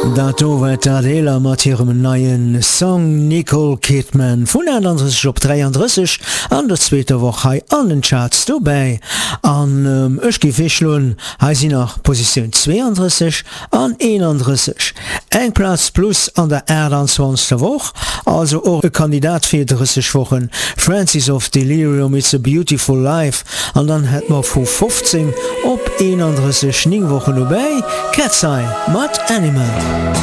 Dat do war d'Adela mat hirem neien Song Nicole Kidman vun 38 op 33 an der zweeter Woch hei an den Charts dobäi. An ech géif virschloen, hei sinn nach Positioun 32 an 31, eng Plaz plus an der 28. Woch, also och e Kandidat fir 30 Wochen, Francis of Delirium, It's a Beautiful Life, an dann hätt mer vu 15 op 31, 9 Wochen dobäi, Cat's Eye mat Animal.